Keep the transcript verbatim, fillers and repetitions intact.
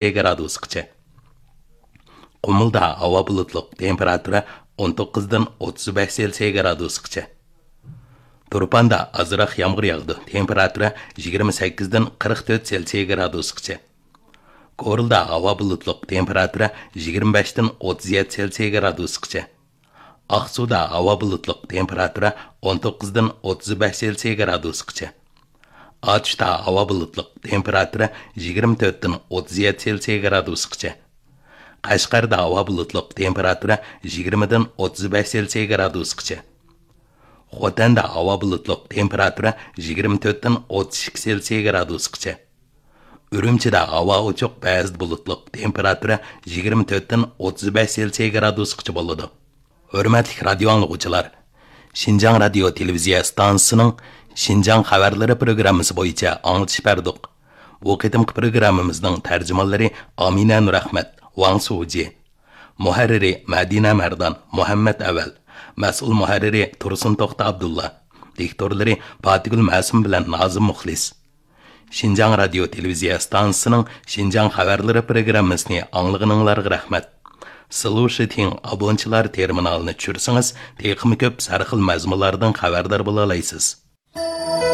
گرادۇسقىچە. قۇمۇلدا ھاۋا بۇلۇتلۇق، تېمپېراتۇرا ئون توققۇزدىن ئوتتۇز بەش سېلسىيە گرادۇسقىچە. تۇرپاندا ئازراق يامغۇر ياغىدۇ، تېمپېراتۇرا يىگىرمە سەككىزدىن قىرىق تۆت سېلسىيە گرادۇسقىچە. كورلىدا ھاۋا بۇلۇتلۇق، تېمپېراتۇرا يىگىرمە بەشتىن ئوتتۇز يەتتە سېلسىيە گرادۇسقىچە. ئاقسۇدا ھاۋا بۇلۇتلۇق، تېمپېراتۇرا ئون توققۇزدىن ئوتتۇز بەش سېلسىيە گرادۇسقىچە. ئاتۇشتا ھاۋا بۇلۇتلۇق، تېمپېراتۇرا يىگىرمە تۆتتىن ئوتتۇز يەتتە سېلسىيە گرادۇسقىچە. قەشقەردە ھاۋا بۇلۇتلۇق، تېمپېراتۇرا يىگىرمىدىن ئوتتۇز بەش سېلسىيە گرادۇسقىچە. خوتەندە ھاۋا بۇلۇتلۇق، تېمپېراتۇرا يىگىرمە تۆتتىن ئوتتۇز ئىككى سېلسىيە گرادۇسقىچە. ئۈرۈمچىدە ھاۋا ئوچۇق، بەزىدە بۇلۇتلۇق، تېمپېراتۇرا يىگىرمە تۆتتىن ئوتتۇز بەش سېلسىيە گرادۇسقىچە بولىدۇ. ھۆرمەتلىك رادىيو ئاڭلىغۇچىلار، شىنجاڭ رادىيو تېلېۋىزىيە ئىستانسىسىنىڭ شىنجاڭ خەۋەرلىرى پروگراممىسى بويىچە ئاڭلىتىش بەردۇق. بۇ قېتىمقى پروگراممىمىزنىڭ تەرجىمانلىرى ئامىنە نۇرئەخمەت، ۋاڭ سۇجى. مۇھەررىرى مەدىنە مەردان، مۇھەممەت ئەۋەل. مەسئۇل مۇھەررىرى تۇرسۇن توختى ئابدۇللا. دىكتورلىرى پاتىگۈل مەسۇم بىلەن نازىم مۇخلىس. شىنجاڭ رادىيو تېلېۋىزىيە ئىستانسىسىنىڭ شىنجاڭ خەۋەرلىرى پروگراممىسىنى ئاڭلىغىنىڭلارغا رەھمەت. سلۇشىتىڭ ئابونچىلار تېرمىنالىنى چۈشۈرسىڭىز، تېخىمۇ كۆپ سەرخىل مەزمۇنلاردىن خەۋەردار بولالايسىز.